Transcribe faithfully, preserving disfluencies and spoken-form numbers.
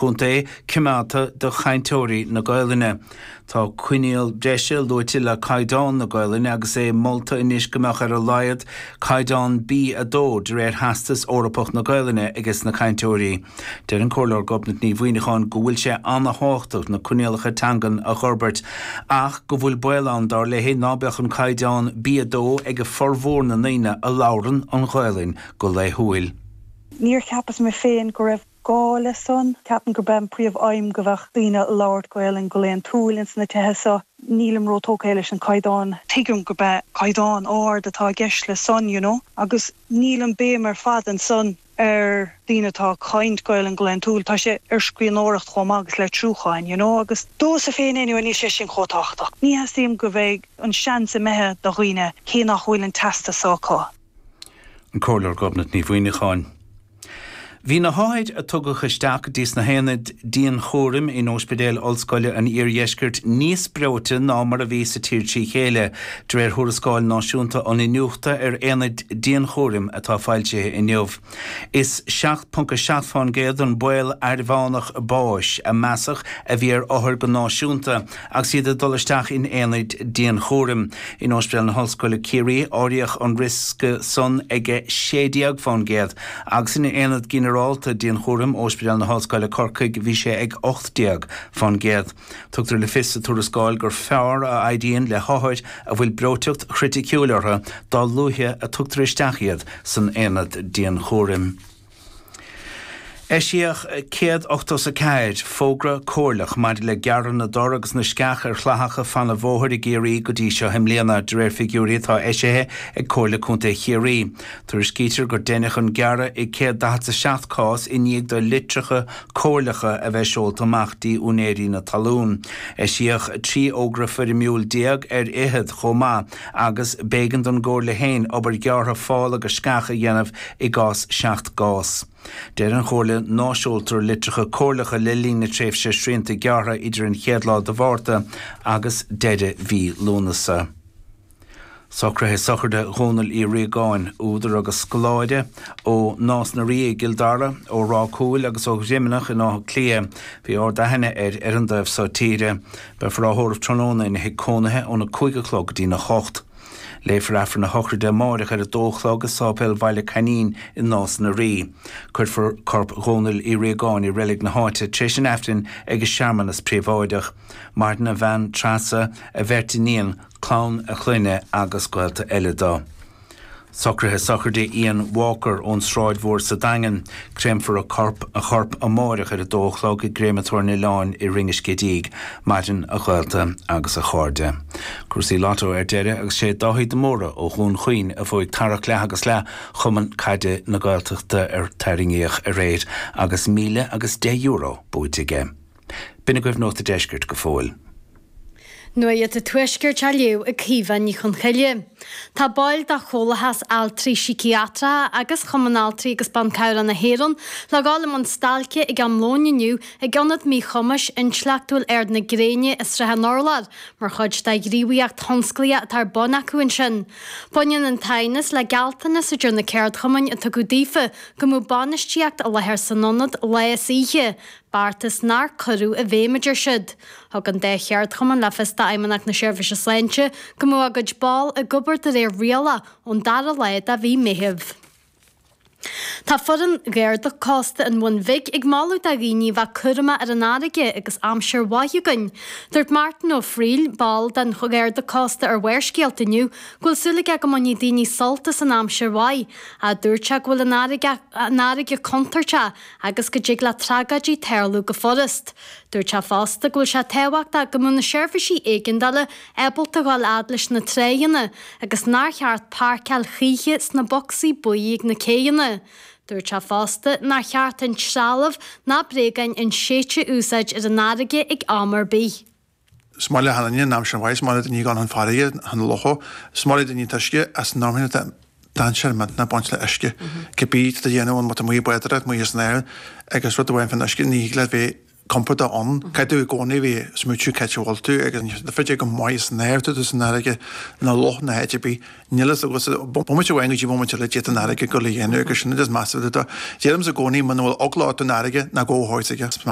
Chontae coimeádta do chainteoirí na Gaelainne. Tá coinníoll breise luaite le caighdeán na Gaelainne agus é molta anois go mbeadh ar a laghad caighdeán B a dó de réir Theastas Eorpach na Gaelainne ages na cainteoirí. Deir an Comhairleoir Gobnait Ní Mhuineacháin go bhfuil sé an-tábhachtach na coinníollacha teangan a fhorbairt ach go bhfuil baol ann dar léi ná beadh an caighdeán B a dó ag a formhór na ndaoine a labhrann an Ghaelainn go laethúil. Níor cheapas mé féin go raibh gá le san, ceapaim gurb é an príomh-aidhm go bheadh daoine labhairt Gaelainn go laethúil ins na tithe so. Nílim róthógtha leis an caighdeán tuigim gurb é caighdeán ard atá i gceist le san, you know, agus níl an béim ar fad ansan ar daoine atá caint Gaelainn go laethúil, tá sé ar scríbhneoireacht chomh maith agus litriúcháin, you know, agus domsa féin anyway níl sé sin chomh tábhachtach. Ní theastaíonn go bheidh an seans imithe do dhaoine cé nach bhfuil an teastas acu. An Comhairleoir Gobnait Ní Mhuineacháin. Bhí na hothair a tugadh isteach dtí sna haonaid dianchúraim in Ospidéal Ollscoile an Iardheiscirt níos breoite ná mar a bhí sa tír trí chéile, de réir thuarascáil náisiúnta an iniúchta ar aonaid dianchúraim atá foilsithe inniu. Is seacht ponc a seacht faoin gcéad an baol airmheánach báis a measadh a bhí ar othair go náisiúnta agus iad ag dul isteach in aonaid dianchúraim. In Ospidéal na hOllscoile Ciarraí áiríodh an riosca san ag sé déag faoin gcéad agus in aonad ginearálta dianchúraim Ospidéal na hOllscoile Corcaigh bhí sé ag ocht déag faoin gcéad. Tugtar le fios sa tuarascáil gur fearr a éiríonn le hothair a bhfuil breoiteacht chriticiúil orthu dá luaithe a tugtar isteach iad san aonad dianchúraim. Eisíodh céad ochtó is a ceathair fógra comhairleach maidir le gearradh na dtor agus na sceach ar chlathacha fan an bhóthair i gCiarraí go dtí seo i mbliana, de réir figiúirí atá eisithe ag Comhairle Contae Chiarraí. Tuairiscítear gur deineadh an gearradh i céad daichead is a seacht cás i ndiaidh do litreacha comhairleacha a bheith seolta amach dtí úinéirí na talún. Eisíodh trí fhógra foirmiúil déag ar fhichead chomh maith agus b'éigean don gComhairle féin obair ghearrtha fál agus sceach a dhéanamh i gcás seacht gcás. Deir an Chomhairle ná seoltar litreacha comhairleacha le linn na tréimhse srianta gearrtha idir an chéad lá de Mhárta agus deireadh mhí Lúnasa. Socruithe sochraide Dhónaill Uí Riagáin, údar agus scoláire ó Nás na Rí i gCill Dara, ó Ráth Cúil agus ó Dhroimeanach in Áth Cliath. Bhí ard-aithne air ar an dtaobh seo tíre. Beifear á thórramh tráthnóna ina thigh cónaithe óna cúig a chlog go dtína hocht. Léifear Aifreann na sochraide amárach ar a dó a chlog i Sáipéal Bhaile Coinín i Nás na Rí. Cuirfear corp Dhónaill Uí Riagáin i reilig na háite tar éis an Aifrinn ag searmanas príobháideach. Maireann a bhean Treasa, a bheirt iníon, clann a chlainne agus gaolta eile dó. Socruithe sochraide Ian Walker ón Sráid Mhór sa Daingean. Créamfar a corp a chorp amárach ar a dó a chlog i gcréamatóir na Oileáin i Rinn an Scidígh, maireann a ghaolta agus a chairde. Cúrsaí Lotto ar deireadh agus sé Dáithí de Mórdha ó Dhún Chaoin a bhuaigh tarrac leath agus leath Chumann Caide na Gaeltachta ar tarraingíodh aréir agus míle agus deich euro buaite aige. B'in agaibh Nuacht an Deiscirt go fóill. Nuacht an Tuaiscirt á léamh ag Caoimhe Ní Chonchoille. Tá baill de Chomhlathas Altraí Síciatracha agus Chumann Altraí agus Ban Cabhrach na hÉireann le dhul i mbun stailce ag am lóin inniu ag Ionad Míchumais Intleachtúil Ard na Gréine i Srath an Urláir mar chuid de ghníomhaíocht thionsclaíoch atá ar bun acu ansin. Baineann an t-aighneas le gealltanas idir na ceardchumainn a tugadh daofa go mbeadh bainistíocht i láthair san ionad lá is oíche, beartas nár cuireadh i bhfeidhm a deir siad. Thug an dá cheardchumann le fios d'Fheidhmeannacht na Seirbhíse Sláinte go mbeadh a gcuid ball ag obair de réir rialach ón dara lá de mhí Meitheamh. Tá foireann Gharda Cósta an Bhun Bhig ag moladh do dhaoine a bheith cúramach ar an fharraige agus aimsir mhaith againn. Dúirt Martin Ó Frighil, ball den Gharda Cósta ar Bharrscéalta inniu, go bhfuil súil aige go mbainfidh daoine sult as an aimsir mhaith. Ach dúirt sé go bhfuil an fharraige an fharraige contúirteach agus go dtig le tragóidí tarlú go furast. Dúirt sé fosta go bhfuil sé tábhachtach go mbeadh na seirbhísí éigeandála ábalta dhul fhad leis na tráigheanna agus nár cheart páirceáil choíche sna bocsaí buí ag na céidheanna. Dúirt sé fosta nár cheart an trealamh ná bréagáin inséidte a úsáid ar an fharraige ag am ar bith. Is maith le hAine an aimsir mhaith, is maith le daoine gan an farraige, an locha, is maith le daoine an t-uisce as an am dainséar millteanach ag baint le uisce. Cibé tá do dhéanamh ann, má tá amuigh ag bádóireacht, amuigh san aer agus rud amháin faoin uisce, ní thig leat bheith compordach ann. Caithfidh tú i gcónaí a bheith ag smaoitiú cá háit a bhfuil tú agus tá féidir go maith san aer tú san fharraige nó loch nó áit ar bith. Níl fhios agat bomaite amháin go dtí bomaite eile d'fhéadfadh an fharraige dul a dhéanamh agus sin is measa. Deirimse i gcónaí muna bhfuil eagla ort don fharraige ná gabh ó thuaidh.